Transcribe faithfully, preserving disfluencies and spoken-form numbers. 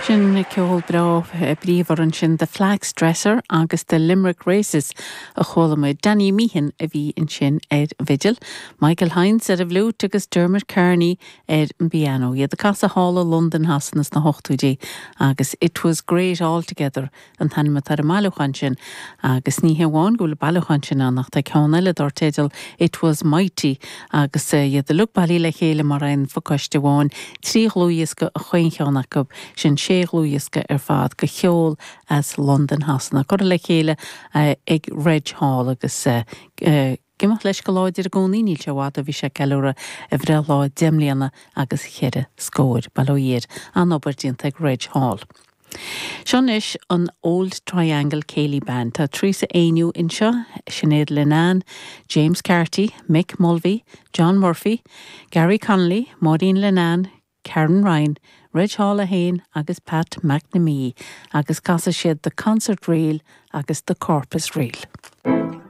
Sin ceol breá bríomhar ansin The Flax Dresser agus The Limerick Races a chuala muid Danny Meehan a bhí ansin ar bhfidil, Michael Hines ar an bhfliúit agus Dermot Kearney ar an bpianó. Iad ag casadh thall i Londain Shasana sna hochtóidí agus It was great all together an t-ainm atá ar an mbailiúchán sin agus ní hamháin go bhfuil bailiúchán sin ann ach tá ceann eile dar teideal It was mighty agus iad uilig bailithe le chéile mar aon phacáiste amháin trí dhlúthdhiosca a chaon cheann acu sin sé dhlúthdhiosca ar fad de cheol as Londain Shasana curtha le chéile ag Reg Hall agus ag imeacht leis go láidir i gcónaí níl sé i bhfad ó bhí sé ag ceiliúradh a bhreithlá deich mbliana agus cheithre scór bail ó Dhia air an-obair déanta ag Reg Hall. Seo anois an Old Triangle Céilí Band Tá Teresa Éinniú anseo, Sinéad Linnane, James Carty, Mick Mulvey, John Murphy, Gary Connolly, Maureen Linnane, Karen Ryan, Reg Hall a haon agus Pat McNamee agus casfaidh siad the Concert Reel agus the Corpus Reel.